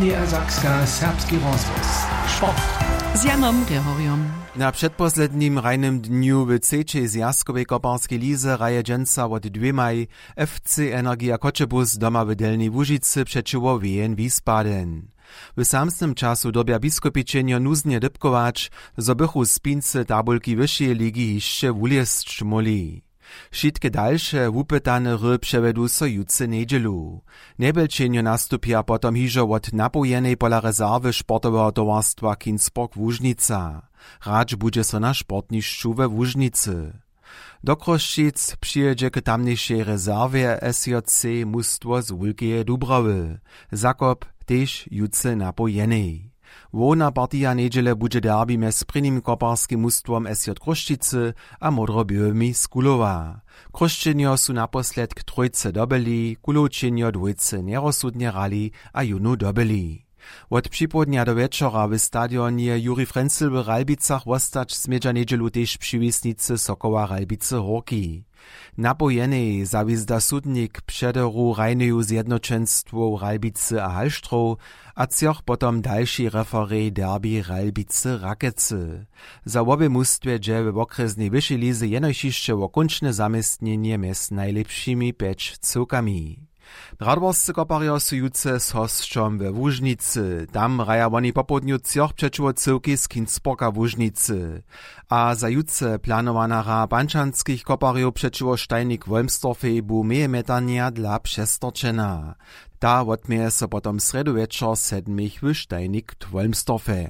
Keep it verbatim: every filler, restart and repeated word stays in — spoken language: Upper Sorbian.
Niedersakska, serbski rozhłos. Sport. Z Janom Rehorjom. Na předposlednim hrajnym dnju w třećej zwjazkowej koparskej lize hraje dźensa wot dwěmaj F C Energija Choćebuz doma w Delnjej Łužicy přećiwo W N Wiesbaden. W samsnym času dyrbja biskopičenjo nuznje dypkować, zo bychu spincy tabulki wyšeje ligi hišće wulězć móhli. Wšitke dalše wupytane hry přewjedu so jutře njedźelu. Njebelčenjo nastupja potom hižo wot napołjenej pola rezerwy sportoweho towarstwa Kinsborg Łužnica. Hrać budźe so na sportnišću we Łužnicy. Do Chrósćic přijědźe k tamnišej rezerwje S J C mustwo z Wulkeje Dubrawy. Zakop tež jutře napołjenej. Hłowna partija njedźele budźe derbi mjez prěnim koparskim mustwom S J Chrósćicy a módroběłymi z Kulowa. Chrósćenjo su naposledk trójce dobyli, Kulowčenjo dwójce njerozsudnje hrali a jónu dobyli. Wot připołdnja do wječora w stadionje Juri Frenzel w Ralbicach wostać smědźa njedźelu tež přiwisnicy Sokoła Ralbicy Hórki. Napołjenej zawizda sudnik přederu hrajneju zjednoćenstwow Ralbicy a Halštrow a třoch potom dalši referej derbi Ralbicy Rakecy. Za wobě mustwje dźe we wokrjesnej wyšej lize jenož hišće wo kónčne zaměstnjenje mjez najlěpšimi pjeć cyłkami. Radworscy koparjo su jutře z hosćom we Łužnicy. Tam hraja woni popołdnju třoch přećiwo cyłki z Kinsborga Łužnicy. A za jutře planowana hra pančanskich koparjow přećiwo Steinik Wolmstorfej bu mejemjetanja dla přestorčena. Ta wotměje so potom srjedu wječor sedmich w Steinik Wolmstorfej.